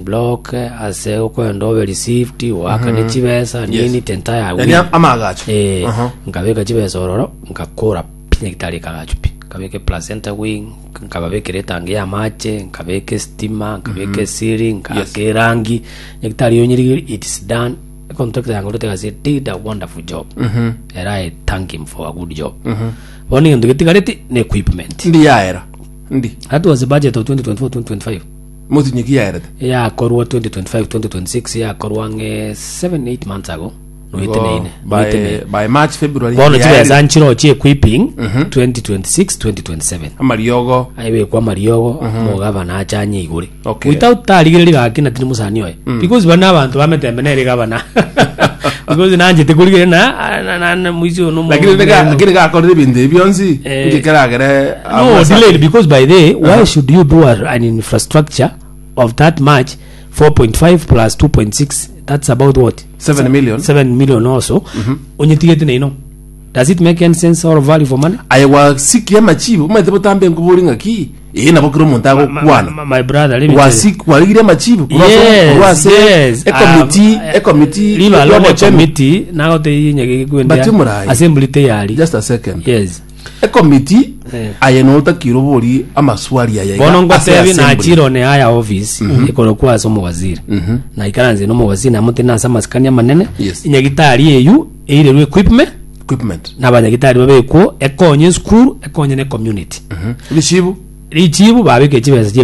Block ase okoenda obe received oakane chibesa nini the entire Yani week. amagacho. Eh, Aha. nkabeka chibesa ororo nkakora pi nyagitari ekagachwa pi nkabeka eplacenta wing nkababekera etangi ya amache nkabeka estima nkabeka esiri nkaaka erangi nyagitari yonyerigeri it is done econtractor yangorete egasi did a wonderful job era I thank him for a good job bono egento getigareti ne equipment Ndi yaera. Ndi. that was the budget of 2024 2025 Motinyi ki yaerete? Yakorwa 2025 2026 yakorwa ang'e 7 8 months ago noeteneine By, noeteneine by March, February. bono yaerire. chibesa nchirochi equipping 2026 2027 Amariogo. aibekwa amariogo omogabana ache anye igore Okay. without tarigereria gaki na tindi mosani oye because bana abanto bametembe nere gabana because nanchete korigereria na na- na- na moisi oyo nomo- Lakini nega lakini gakorire ebinto ebi bionsi Eh, inki keragere no delayed because by the why should you do a, an infrastructure of that much 4.5 plus 2.6 that's about what 7 million 7 million also onyetigete neino does it make any sense or value for money aye gwasikia amachibu omanyete botambe nkobori ng'aki ee nabo kera omonto agokwana my, my brother let me tell you. Gwasik- kwarigire amachibu korwa ase- Yes, korwa ase yes. ekomiti Ah, ekomiti leave alone y'obochenu. committee nagotebi nyageke kwendea But Murai. assembly teyari just a second yes ekomiti Eh. aye notakire obori amaswali aya iga bono ase ngotebi assembly. nachire one aya office ekorokwa ase omowaziri naikaranse na omowaziri namotebie nase amasikani amanene Yes. enyagitari eywo eirerwe equipment equipment na abanyagitari babekwo ekonye esukuru ekonye ne community richibu richibu babeke chibesa chie.